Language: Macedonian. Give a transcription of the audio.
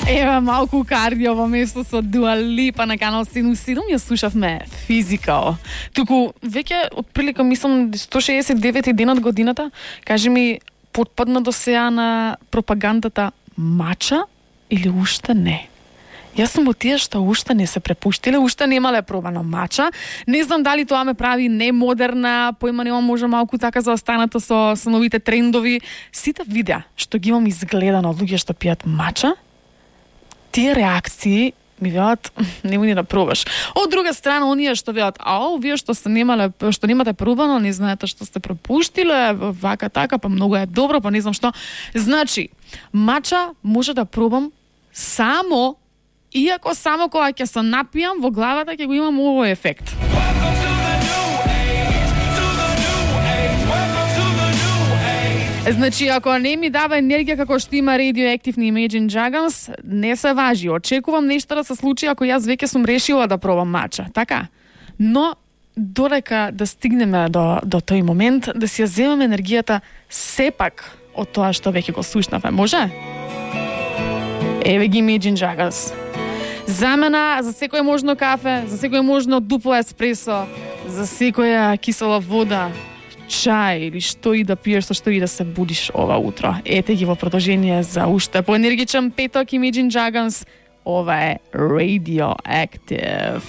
Ева малку кардио во место со Дуа Липа на канал 77. Ја слушавме Physical. Туку веќе отприлика мислам 169 ден од годината. Кажи ми, потпадна до сеја на пропагандата мача или уште не? Јас сум од тие што уште не се препуштиле, уште немале пробано мача. Не знам дали тоа ме прави немодерна, поима немам може малку така заостаната со новите трендови. Сите видеа што ги имам изгледано од луѓе што пијат мача, тие реакции ми велат немој ни да пробаш. Од друга страна, оние што велат, вие што немате пробано, не знаете што сте пропуштиле, вака така, па многу е добро, па не знам што. Значи, мача може да пробам само иако само кога ќе се напијам, во главата ќе го имам овој ефект. Значи, ако не ми дава енергија како што има Radioactive на Imagine Dragons, не се важи. Очекувам нешто да се случи ако јас веќе сум решила да пробам мача, така? Но додека да стигнеме до тој момент, да си ја земам енергијата сепак од тоа што веќе го слушнавме, може? Еве ги Imagine Dragons. Замена за секој можно кафе, за секој можно дупло еспресо, за секоја кисела вода, чај или што и да пиеш, со што и да се будиш ова утро. Ете ги во продолжение за уште поенергичен петок Imagine Dragons. Ова е Radioactive.